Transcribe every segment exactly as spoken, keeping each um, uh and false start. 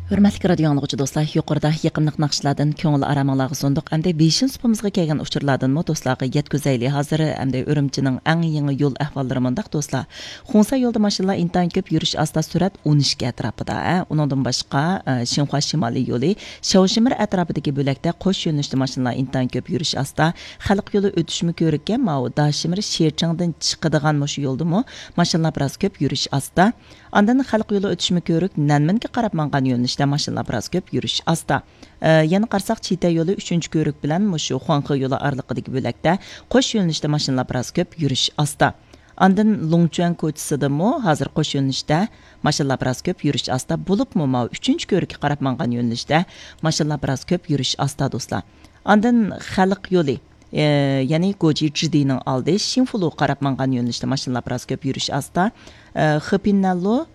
ھۆرمەتلىك رادىيو ئاڭلىغۇچى دوستلار، يۇقىرىدا يېقىملىق ناخشىلاردىن كۆڭۈل ئارامىڭلارغا سۇندۇق. ئەمدى بېشىنچى سۇپىمىزغا كەلگەن ئۇچۇرلاردىنمۇ دوستلارغا يەتكۈزەيلى. ھازىر ئەمدى ئۈرۈمچىنىڭ ئەڭ يېڭى يول ئەھۋاللىرى مۇنداق دوستلار. خۇڭسا يولىدا ماشىنىلار ئىنتايىن كۆپ، يۈرۈش ئاستا، سۈرئەت ئون ئىككى ئەتراپىدا. ئە، ئۇنىڭدىن باشقا، ئە، شىنخۇا شىمالىي يولى شياۋشىمىر ئەتراپىدىكى بۆلەكتە قوش يۆنىلىشتە ماشىنىلار ئىنتايىن كۆپ، يۈرۈش ئاستا. خەلق يولى ئۆتۈشمە كۆرۈككە ماۋۇ داشىمىر شىچىڭدىن چىقىدىغان مۇشۇ يولدىمۇ ماشىنىلار بىراز كۆپ، يۈرۈش ئاستا. ئاندىن خەلق يولى ئۆتۈشمە كۆرۈك نەنمىنگە قاراپ ماڭغان يۆنىلىشتە ماشىنىلار بىراز كۆپ، يۈرۈش ئاستا. ئە، يەنە قارىساق، چىتە يولى ئۈچىنچى كۆرۈك بىلەن مۇشۇ خۇاڭخې يولى ئارىلىقىدىكى بۆلەكتە قوش يۆنىلىشتە ماشىنىلار بىراز كۆپ، يۈرۈش ئاستا. ئاندىن لۇڭچۈەن كوچىسىدىمۇ ھازىر قوش يۆنىلىشتە ماشىنىلار بىراز كۆپ، يۈرۈش ئاستا. بولۇپمۇ ماۋۇ ئۈچىنچى كۆرۈككە قاراپ ماڭغان يۆنىلىشتە ماشىنىلار بىراز كۆپ، يۈرۈش ئاستا، دوستلار. ئاندىن خەلق يولى، ئە، يەنى گوجى جىدىنىڭ ئالدى شىنفۇلۇغا قاراپ ماڭغان يۆنىلىشتە ماشىنىلار بىراز كۆپ، يۈرۈش ئاستا. ئە، خېپىننەنلۇ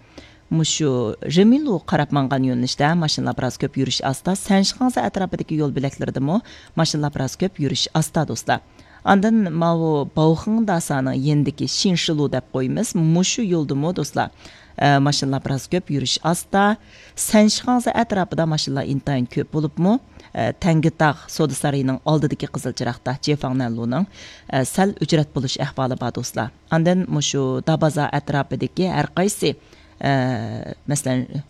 مۇشۇ رېمىلۇغا قاراپ ماڭغان يۆنىلىشتە ماشىنىلار بىراز كۆپ، يۈرۈش ئاستا. سەنشىخاڭزا ئەتراپىدىكى يول بۆلەكلىرىدىمۇ ماشىنىلار بىراز كۆپ، يۈرۈش ئاستا، دوستلار. ئاندىن ماۋۇ باۋخېڭداسانىڭ يېنىدىكى شىنشىلۇ دەپ قويىمىز، مۇشۇ يولدىمۇ دوستلار، ئە، ماشىنىلار بىراز كۆپ، يۈرۈش ئاستا. سەنشىخاڭزا ئەتراپىدا ماشىنىلار ئىنتايىن كۆپ بولۇپمۇ، ئە، تەڭگىتاغ سودا سارىيىنىڭ ئالدىدىكى قىزىل چىراغدا جېفاڭنەنلۇنىڭ، ئە، سەل ئۆچرەت بولۇش ئەھۋالى بار، دوستلار. ئاندىن مۇشۇ دابازا ئەتراپىدىكى ھەر قايسى، ئە، مەسىلەن،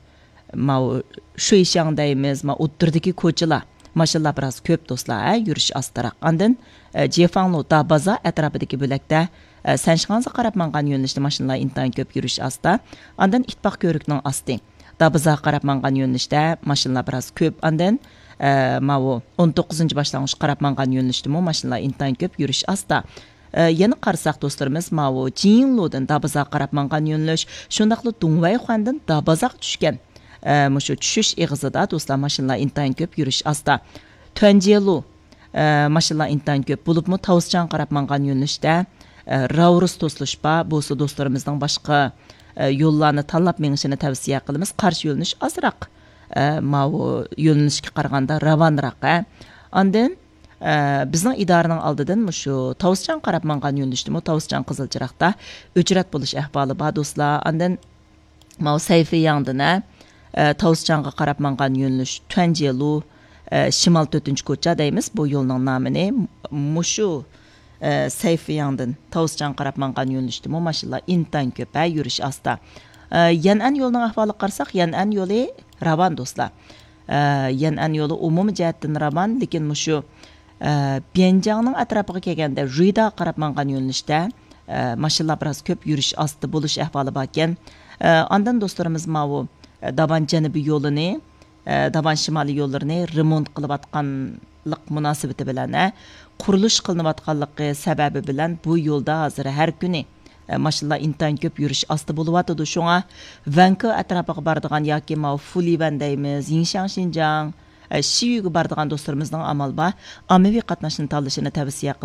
ماۋۇ شۇيشاڭ دەيمىز، ما ئوتتۇرىدىكى كوچىلار، ماشىنىلار بىراز كۆپ، دوستلار، ھە، يۈرۈش ئاستىراق. ئاندىن، ئە، جيېفاڭلۇ دابازا ئەتراپىدىكى بۆلەكتە، ئە، سەنشىخاڭزا قاراپ ماڭغان يۆنىلىشتە ماشىنىلار ئىنتايىن كۆپ، يۈرۈش ئاستا. ئاندىن ئىتتىپاق كۆۋرۈكنىڭ ئاستى، دابازاغا قاراپ ماڭغان يۆنىلىشتە ماشىنىلار بىراز كۆپ. ئاندىن، ئە، ماۋۇ ئون توققۇزىنچى باشلانغۇچقا قاراپ ماڭغان يۆنىلىشتىمۇ ماشىنىلار ئىنتايىن كۆپ، يۈرۈش ئاستا. ئە، يەنە قارىساق، دوستلىرىمىز، ماۋۇ جىنلۇدىن دابازاغا قاراپ ماڭغان يۆنىلىش، شۇنداقلا دۇڭۋەيخۇەندىن دابازاغا چۈشكەن، ئە، مۇشۇ چۈشۈش ئېغىزىدا، دوستلار، ماشىنىلار ئىنتايىن كۆپ، يۈرۈش ئاستا. تۈەنجيېلۇ، ئە، ماشىنىلار ئىنتايىن كۆپ بولۇپمۇ، تاۋسىچاڭغا قاراپ ماڭغان يۆنىلىشتە، ئە، راۋرۇس توسۇلۇش بار. بولسا دوستلىرىمىزنىڭ باشقا، ئە، يوللارنى تاللاپ مېڭىشىنى تەۋسىيە قىلىمىز. قارشى يۆنىلىش ئازراق، ئە، ماۋۇ يۆنىلىشكە قارىغاندا راۋانراق، ھە. ئاندىن، ئە، بىزنىڭ ئىدارىنىڭ ئالدىدىن مۇشۇ تاۋسىچاڭغا قاراپ ماڭغان يۆنىلىشتىمۇ تاۋسىچاڭ قىزىل چىراغدا ئۆچرەت بولۇش ئەھۋالى بار، دوستلار. ئاندىن ماۋۇ سەيفىياڭدىن، ھە، ئە، تاۋسىچاڭغا قاراپ ماڭغان يۆنىلىش تۈەنجيېلۇ، ئە، شىمال تۆتىنچى كوچا دەيمىز بۇ يولنىڭ نامىنى. مۇشۇ، ئە، سەيفىياڭدىن تاۋسىچاڭغا قاراپ ماڭغان يۆنىلىشتىمۇ ماشىنىلار ئىنتايىن كۆپ، ھە، يۈرۈش ئاستا. ئە، يەنئەن يولىنىڭ ئەھۋالىغا قارىساق، يەنئەن يولى راۋان، دوستلار. ئە، يەنئەن يولى ئومۇمىي جەھەتتىن راۋان، لېكىن مۇشۇ، ئە، بيەنجاڭنىڭ ئەتراپىغا كەلگەندە، رۇيداغا قاراپ ماڭغان يۆنىلىشتە، ئە، ماشىنىلار بىراز كۆپ، يۈرۈش ئاستا بولۇش ئەھۋالى باركەن. ئە، ئاندىن دوستلىرىمىز ماۋۇ، ئە، داۋان جەنۇبىي يولىنى، ئە، داۋان شىمالىي يوللىرىنى رېمونت قىلىۋاتقانلىق مۇناسىۋىتى بىلەن، ئە، قۇرۇلۇش قىلىنىۋاتقانلىقى سەۋەبى بىلەن بۇ يولدا ھازىر ھەر كۈنى، ئە، ماشىنىلار ئىنتايىن كۆپ، يۈرۈش ئاستا بولۇۋاتىدۇ. شۇڭا ۋەنكې ئەتراپىغا بارىدىغان ياكى ماۋۇ فۇلىۋەن دەيمىز، يىڭشاڭ شىنجاڭ، ئە، شىيۈگە بارىدىغان دوستلىرىمىزنىڭ ئامال بار ئاممىۋى قاتناشنى تاللىشىنى تەۋسىيە قىلىمىز.